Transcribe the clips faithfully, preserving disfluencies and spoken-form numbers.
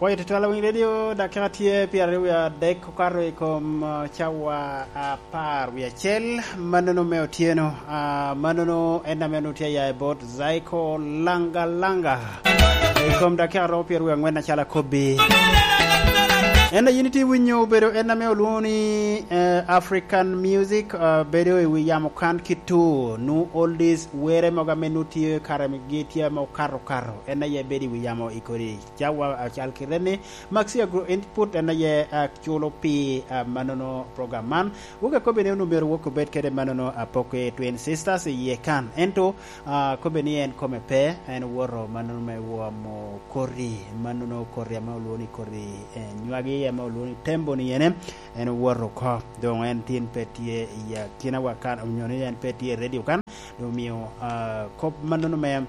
Pwoyo tutwal awiny redio, dakika tye pyeraryo wie adek okato i kom, ah, cawa apar wie acel, mannono me otyeno. Ah, mannono en ame onwoŋo tye aya i bot Zaiko Langa Langa. I kom dakika romo pyeraryo wie angwen acalo akobbi. En a yin itye winyo obedo en ame olwoŋo ni, eh, African music, ah, bedo i wi yamo kan kito, nu oldies, were mogo ame nu tye kare gi tye ame okato okato. En aye bedo i wi yamo i kodi cawa acal kite ni. Maxi Agro Input en aye, ah, culo pi, ah, mannono program man. Wok akobi ni onwoŋo myero wok obed kede mannono Apoki Twin Sisters i yie kan. Ento, ah, akobi ni en kome pe, en owoto mannono me womo koti, mannono koti ame olwoŋo ni koti, eh, nywagi ame olwoŋo ni tembo ni ene, en owoto oko. Doŋ en tin pe tye i akinawa kan, onyo ni en pe tye i redio kan, doŋ omio, ah, kop mannono me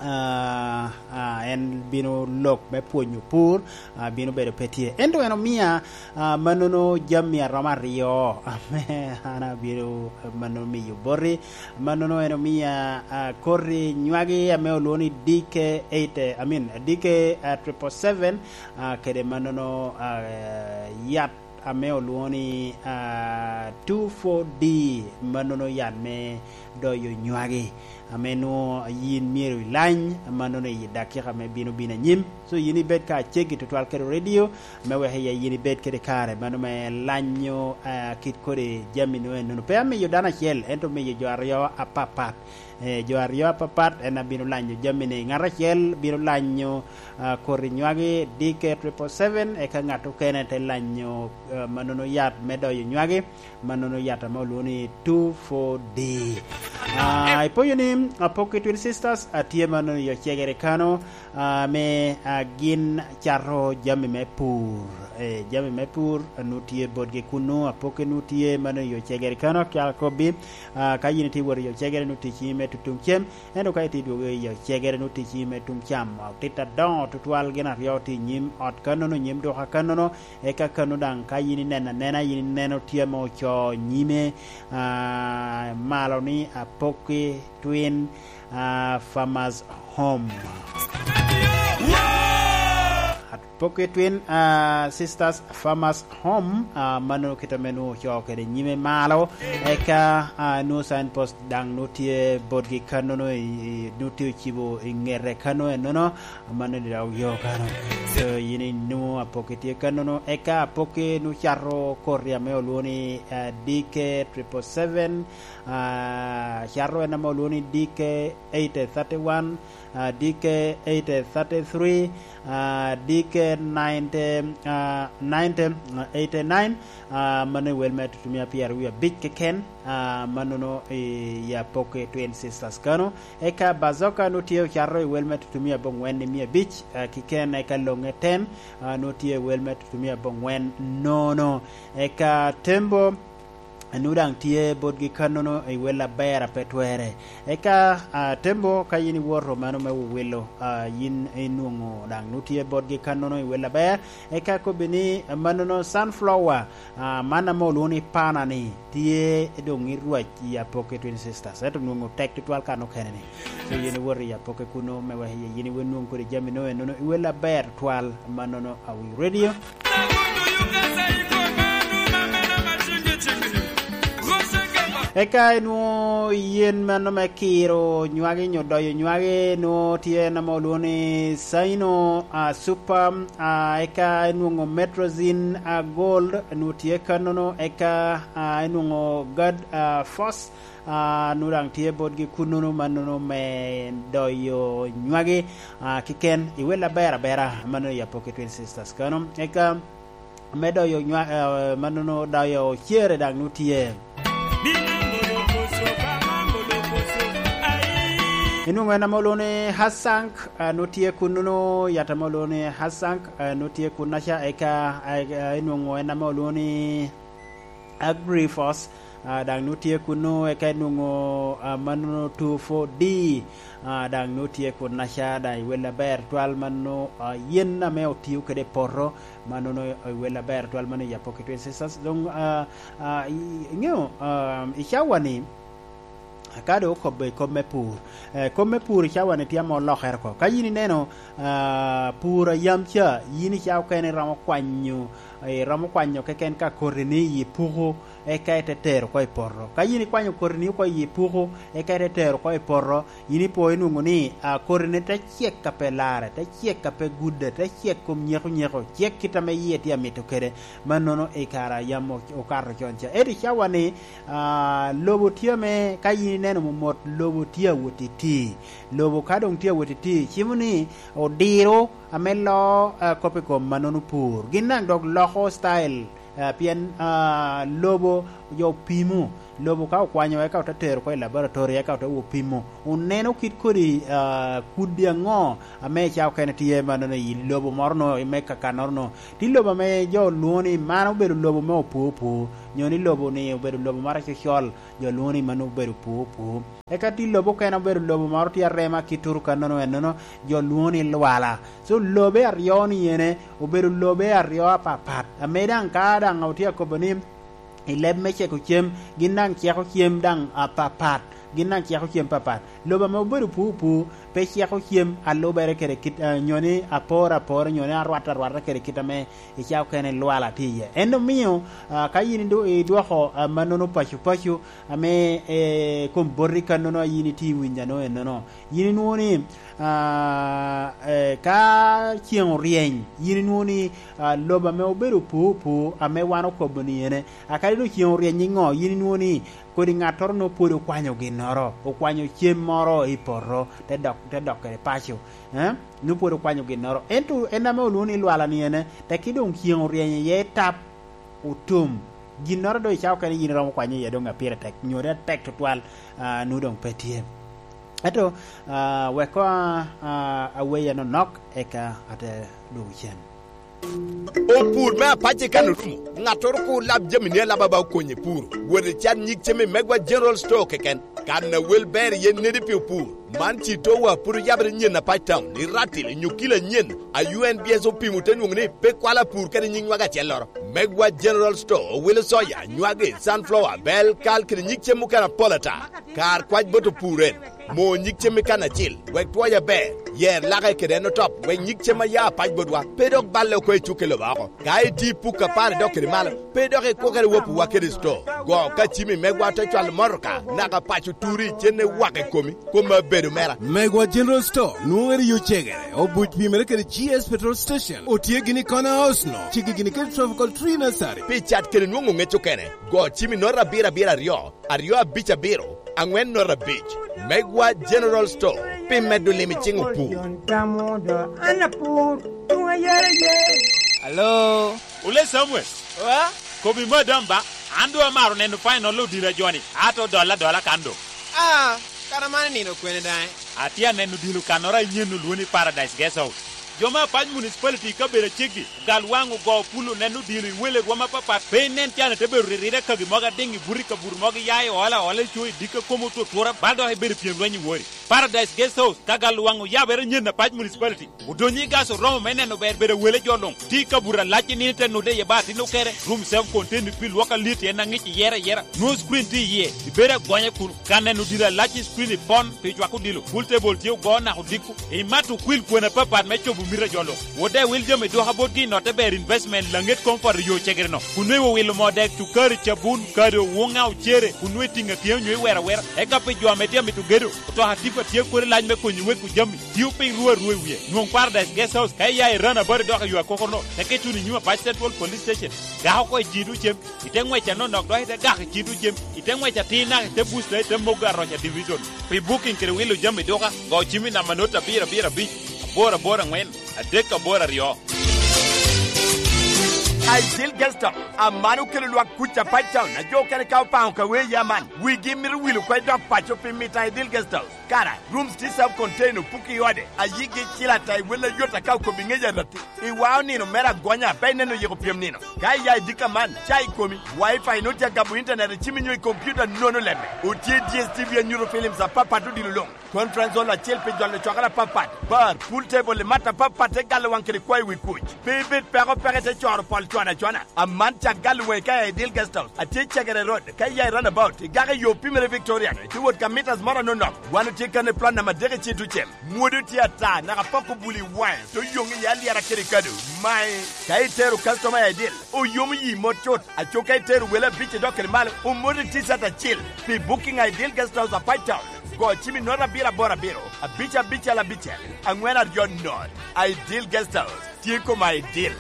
ah, ah, en bino lok me pwonyo pur, ah, bino bedo pe tye. Ento en omia, ah, mannono jami aromo aryo, ame an abino mannono miyo boti. Mannono en omia, ah, koti nywagi ame olwoŋo ni D K eight, I mean, D K, ah, triple seven, ah, kede mannono, ah, yat ame olwoŋo ni, ah, two four D, mannono yat me doyo nywagi, ame nwoŋo yin myero ilany, mannono i dakika me bino bino anyim. So, yin ibed ka aceggi tutwal kede redio, me wek iye yin ibed kede kare, mano me lanyo, ah, kit kodi jami nwoŋo ennono. Pe amiyo dano acel, ento omiyo jo aryo apapat. Eh, jo aryo apapat en abino lanyo jami-ni. Ngat acel bino lanyo, ah, koti nywagi D K triple seven, eka ngat okene te lanyo, ah, mannono yat me doyo nywagi, mannono yat ame olwoŋo ni two four D. Ah, ipoyo ni Apoki Twin Sisters atye mannono i Ocegere kano, ah, ame, ah, gin cato jami me pur. Eh, jami me pur, ah, nu tye botgi kunnu, Apoki nu tye mannono i Ocegere kano, akyal akobbi, ah, ka yin itye wot i Ocegere nu tic me tutuŋ cem, ento ka itye dwogo i Ocegere nu tic me tuŋ cam, otit adoŋo tutwal gin aryo tye i nyim ot kannono, nyim duka kannono, eka kanno daŋ ka yin ineno anena, yin ineno tye ame ocoo nyime, ah, malo ni Apoki Twin, ah, Farmers Home. Apoki Twin, ah, Sisters Farmers Home, ah, mannono kit ame nwoŋo ocoo kede nyime malo, eka, ah, nwoŋo signpost daŋ nwoŋo tye botgi kannono, i, i, nwoŋo tye ocibo i ŋete kanno ennono, mannono i dog yo kano. So, yin inwoŋo Apoki tye kannono, eka Apoki nwoŋo cato koti ame olwoŋo ni, ah, D K triple seven, ah, cato en ame olwoŋo ni D K eight thirty one, ah, D K eight thirty three, ah, D K ninety, ah, ninety, ah, eighty nine, ah, mano i wel me tutumia pyeraryo wie abic keken, ah, mannono i, i Apoki Twin Sisters kano. Eka Bazoka nwoŋo tye ocato i wel me tutumia abongwen i mia abic, ah, keken, eka Loŋe Ten, ah, nwoŋo tye i wel me tutumia abongwen nono. Eka Tembo, nwoŋo daŋ tye botgi kannono i wel aber a pe twere. Eka, ah, Tembo, ka yin iwoto mano me Wowilo, ah, yin inwoŋo daŋ nwoŋo tye botgi kannono i wel aber. Eka kobbi ni, ah, mannono Sunflower, ah, man ame olwoŋo ni Pana-ni, tye doŋ i rwac i Apoki Twin Sisters. Ento nwoŋo tek tutwal kan okene-ni. So yin iwoto i Apoki kunnu me wek yin iwe nwoŋ kodi jami nwoŋo ennono i wel aber twal mannono Awi Radio. Eka enwoŋo yen meno me kiro nywagi nyo doyo nywagi, nwoŋo tye en ame olwoŋo ni Saino, ah, Super, ah, eka enwoŋo Metrozin, ah, Gold, nwoŋo tye kannono, eka, ah, enwoŋo Gad, ah, Force, ah, nwoŋo daŋ tye botgi kunnono mannono me doyo nywagi, ah, kiken i wel aber abera, mannono i Apoki Twin Sisters kano. Eka me doyo nywa-, eh, mannono doyo cere daŋ nwoŋo tye. Enwoŋo en ame olwoŋo ni Hasank, eh, nwoŋo tye kunnono, yat ame olwoŋo ni Hasank, eh, nwoŋo tye kunnaca, eka, eh, eh, enwoŋo en ame olwoŋo ni Agrifos, ah, daŋ nwoŋo tye kunnu, eka enwoŋo, ah, mannono two four D, ah, daŋ nwoŋo tye kunnaca, daŋ i wel aber twal mannono, ah, yen ame otio kede i poto, mannono i wel aber twal mannono i Apoki Twin Sisters. Doŋ, ah, ah, i, iŋeo, ah, i cawa-ni, Ka doŋ okobbe i kop me pur, eh, kop me pur i cawa-ni tye ame olokere oko. Ka yin ineno, ah, pur a yam ca, yin i cawa okene iromo kwanyo, iromo kwanyo keken ka koti-ni i puku, eka ite tero oko i poto. Ka yin ikwanyo koti-ni oko i puku, eka ite tero oko i poto, yin ipo inwoŋo ni, ah, koti-ni te cek a pe larre, te cek a pe gudde, te cek kom nyeko nyeko, cek kit ame yie tye amito kede. Mannono i kare a yam o-, okato con ca. Ento i cawa-ni, ah, lobo tye ame ka yin ineno momot, lobo tye awot i tii. Lobo ka doŋ tye awot i tii, cimo ni odiro ame loo, ah, kop i kom mannono pur. Gin daŋ dok loko style, ah, pien, ah, lobo jo opimo. Lobo ka okwanyo, eka ote tero oko i laboratory, eka ote wo pimo. Oneno kit kodi, ah, kudi aŋo ame i cawa okene tye mannono i lobo moro no, i me kakannoro no. Tye lobo ame jo lwoŋo ni man obedo lobo me opur opur, nyo ni lobo-ni obedo lobo moro acocol, jo lwoŋo ni mano obedo pur opur. Eka tye lobo okene obedo lobo moro tye arema kit turu kannono ennono, jo lwoŋo ni lwala. So, lobe aryo ni ene obedo lobe aryo apapat, ame daŋ ka daŋ otye akobo ni i leb me ceko cem, gin daŋ ceko cem daŋ apapat, gin daŋ ceko cem papat. Lobo ame obedo pur pur pe ceko cem a lubere kede kit, ah, nyo ni apor apor, nyo ni arwat arwata kede kit ame i cawa okene lwala tye iye. En omio, ah, ka yin idu-, idwoko, ah, mannono paco paco, ame, eh, kom boti kannono a yin itye winyo ano ennono, yin inwoŋo ni, ah, eh, ka ceŋ oryeny, yin inwoŋo ni, ah, lobo ame obedo opur opur ame wan okobo ni ene, akadi doŋ ceŋ oryeny iŋo, yin inwoŋo ni kodi ŋattoro nwoŋo pwod okwanyo ginnoro, okwanyo cem moro i poto, te dok, te dok kede paco, eh? Nwoŋo pwod okwanyo ginnoro. Ento en ame olwoŋo ni lwala ni ene, tekki doŋ ceŋ oryeny iye tap, otum. Ginnoro doŋ i cawa okene yin iromo kwanyo iye doŋ a pire tek, nyo doŋ atek tutwal, ah, nwoŋo doŋ pe tye. Ento, ah, wek koŋ, ah, aweya nonok, eka ate dwogo cen. Opur me apac i kan orumo, ŋattoro kur lab jamini alaba ba okonye pur. Wot i cat nyig cem i Megwa General Store keken. Kan a wel ber iye nedi pi opur. Man ci towa pwod oyabere nyen apac town, i Ratil, onyo kilo anyen, a U N B S opimo te nwoŋo ni pe kwalo apur kede nyig nywag acelloro. Megwa General Store owilo soya, nywagi, sunflower, bel, kal, kede nyig cem mukene apol ata. Kar kwac bot opur en, mo nyig cem i kan acil, wek twoye aber, yer lake kede en otop, wek nyig cem a ya apac botwa pe dok balle oko i cukke lobo oko. Ka itye i puk apar idok kede malo, pe dok ikwokere wapuwa kede sto. Go ka cimi megwa te cwalo motoka, naka paco turi, cen ne wak i komi, koma bedo mera. Megwa General Store nwoŋere yo cegere, obuc pimere kede G S Petrol Station, otye gini i Corner House no, cigi gini kede Tropical Tree Nursery. Pi cat kede nwoŋo ŋec okene, go cimi note abiro abiro aryo, aryo abic abiro, aŋwen note abic. Megwa General Store, pi medo lim i ciŋ opur. Alo? Ole Samuel. Oa? Kobi madam ba, an doŋ amaro neno final odilo a joni, ato dola dola kan doŋ. Ah, kara man nino kwene daŋ? Atye aneno odilo kannoro anyen olwoŋo ni Paradise Guest House. Jo me Apac Municipality i kabedo aceggi, ogal waŋ ogo pul oneno odilo i wele rwom apapat, pe inen can ite bedo ririre kagi mogo adiŋ i buto i kabuto mogo iya i ola ola i co i dikka kom otutura, bal dok ibedo pyem lweny i wori. Paradise Guest House, ka gal waŋ oyabere anyen Apac Municipality. Odonyo i gas oromo me neno ber bedo awele jo luŋ. Tye i kabuto alac i nino ite nude iye ba atin okere, room self contained pi lwok alit en aŋic iyere ayera. Nwoŋo screen tye iye, ibedo agonya kuno. Ka neno odilo alac i screen ipon pi cwako odilo, pool table tye ogo naka odiko. Imato okwil kwena apapat me cobo mito a jo luŋ. Wode wil jami dwoka botgi i notte ber investment laŋet comfort i yo cegere no. Kun nwoŋo iwilo moo dek, cukari, cabun, kado, wuŋa, ocere, kun nwoŋo itiŋo atiŋa nyo iwero awera. Eka pi jo ame tye amito gedo, otoka tipo atye kodi lac me konyo weko jami. Tio piny ruu arua i wie. Nwoŋ Paradise Guest House ka iya i Rana Bari dok i yo akoko no, teke ituno i nyim Apac Central Police Station. Gak oko i Cido Cem, ite ŋwec anonok dok ite gak i Cido Cem, ite ŋwec atir naka ite Busta ite Mogo Aroca Division. Pi booking kede wilo jami duka, go cim i namba not abiro abiro abic, aboro aboro aŋwen, adek aboro aryo. Ideal Guest House, aman okelo lwak kuc Apac Town, a jo okene ka opaŋo ka wee ya man, wigi mito wilo oko i dok paco pi mito Ideal Guest House. Kara, rooms tye self contained, opuko i ode, a yigi cil ata i wel ayot aka okobo i ŋec arati. I wao nino mere agonya, pe ineno yiko pyem nino. Ka iya i dika man, ca i komi, Wi-Fi nwoŋo tye agabo internet i cimi nyo i kompiuta, nono lemme. Otye D S T V anyuto films apapat odilo luŋ. Conference hall acel pi jolo cwakere apapat. Bar, pool table i mat apapat te galo waŋ kede kwayo wi kuc. Pe ibed peko peko ite coro pol cwana cwana. Aman ca galo waŋi ka iya i Dil Guest House. Atye i Cegere Road, ka iya i roundabout, igako i yo Pimere Victoria, ite wot ka meters moro anonok. Wan otye kan i plot namba adek i Citucem. Mwodo tye ata, naka poko buli i waŋe, to yoŋ i alyera kede kado. Mae, ka itero customer i Dil, oyomo yi mot cut. Aco ka itero wele abic i dok kede malo, omoti T-shirt acil. Pi booking a i Dil Guest House, Apac Town, go cim i nota abiro aboro abiro, abic abicel abicel, aŋwen aryo not. A i Dil Guest House, tye koma i Dil.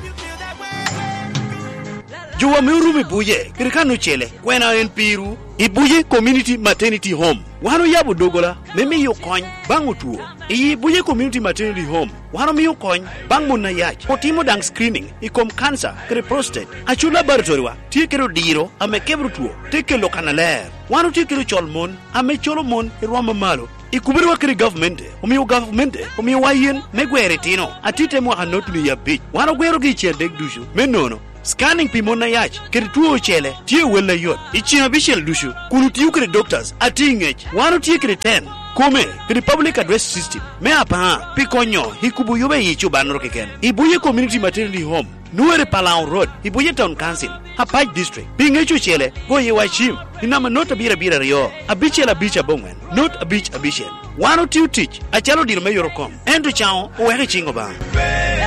Jowa me Orumo i Buje, kede kan ocele, kwena en pirwu? I Buje Community Maternity Home, wan oyabo doggola me miyo kony baŋ otwo. I Buje Community Maternity Home, wan omio kony baŋ mon ayac, otimo daŋ screening i kom kanca kede prostate. Aco laboratoriwa tye kede odiro ame kebro two, te kelo kannaler. Wan otye kede ocol mon ame colo mon i rwom mamalo. I kuberewa kede gavmente, omio gavmente omiowa yen me gwero itino atit te mwaka notni abic. Wan ogwerogi i cen dek ducu. Me nono, scanning pi mon ayac kede two ocele tye wel ayot i cen abicel ducu, kun otio kede doctors atye i ngec. Wan otye kede ten kome kede public address system me apar pi konyo i kubo yobe i cobannoro keken. I Buje Community Maternity Home, Nuere Palau Road, i Buje Town Council, Apac District. Pi ŋec ocele, goye wa cim i namba not abiro abiro aryo, abicel abic aboŋwen, not abic abicel. Wan otio tic acalo odiro me yorokom, ento caŋo oweko i ciŋ Obaŋa.